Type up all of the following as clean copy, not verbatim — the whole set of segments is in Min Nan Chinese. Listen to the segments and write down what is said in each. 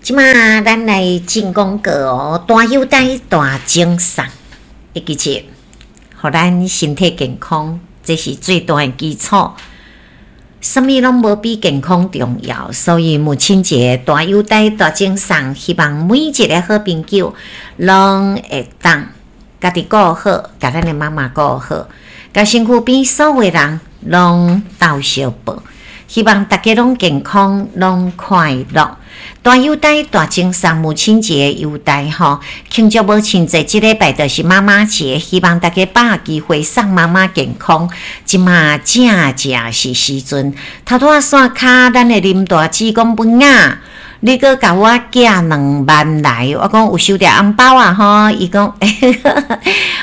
這馬咱來進廣告哦，大優待大贈送，會記住，予咱身體健康，這是最大的基礎。啥物攏無比健康重要，所以母親節大優待大贈送，希望每一个好朋友攏會當家己顧好，共咱的媽媽顧好，共身軀邊所有人攏鬥相報。希望大家攏健康，攏快樂。大優待大贈送，母親節優待吼，慶祝母親節，這禮拜就是媽媽節，希望大家把握機會送媽媽健康。這馬正正是時陣，頭拄仔線跤，咱的林大姊講文雅，你閣共我寄2萬來，我講有收著紅包啊吼，伊講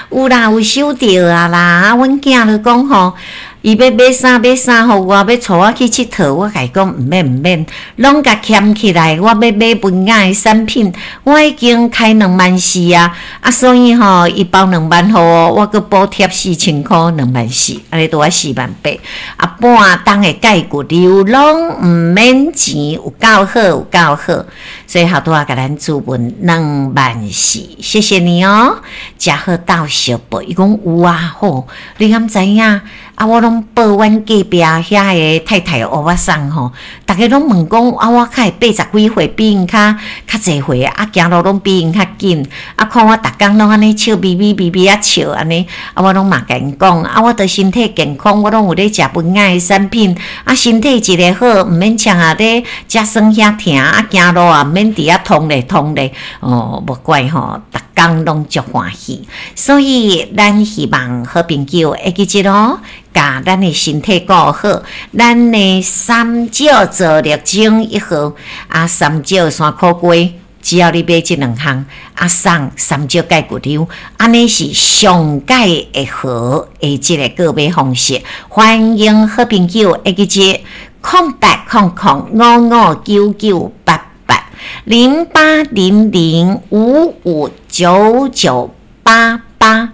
有啦，有收著啊啦。啊，阮囝就講吼，伊欲買衫買衫予我，欲帶我去𨑨迌，我共伊講毋免毋免，攏共儉起來。我欲買文雅的產品，我已經開2萬4啊！啊，所以吼，伊包兩萬予我，我閣補貼4000箍，2萬4，按呢拄仔4萬8。啊，半冬的鈣骨流攏毋免錢，有夠好，有夠好。所以頭拄仔共咱注文2萬4，謝謝你哦。誠好鬥相報，伊講有啊，好，你敢知影？啊！我攏報阮隔壁遐个太太歐巴桑吼，逐家攏問講啊，我較會80幾歲，比𪜶較較濟歲，啊，行路攏比𪜶較緊，啊，看我逐工攏按呢笑眯眯眯眯仔笑按呢，啊，我攏嘛共𪜶講，啊，我著身體健康，我攏有咧食文雅的產品，啊，身體一个好，毋免像啊咧遮酸遐疼，啊，行路也毋免佇遐痛咧痛咧，哦，無怪吼，逐工攏足歡喜，所以咱希望好朋友會記得哦。共咱的身體顧好，咱的三少做力爭一號，啊，三少山苦瓜，只要你買這兩項，啊，送三少鈣骨溜，按呢是上蓋會好的這个購買方式。歡迎好朋友會記得08005599880800559988。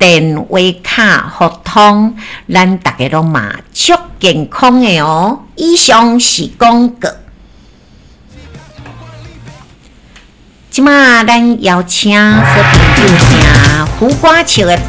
電話卡互通，咱逐家攏嘛足健康的哦。以上是廣告。這馬咱邀請好朋友聽胡瓜笑的。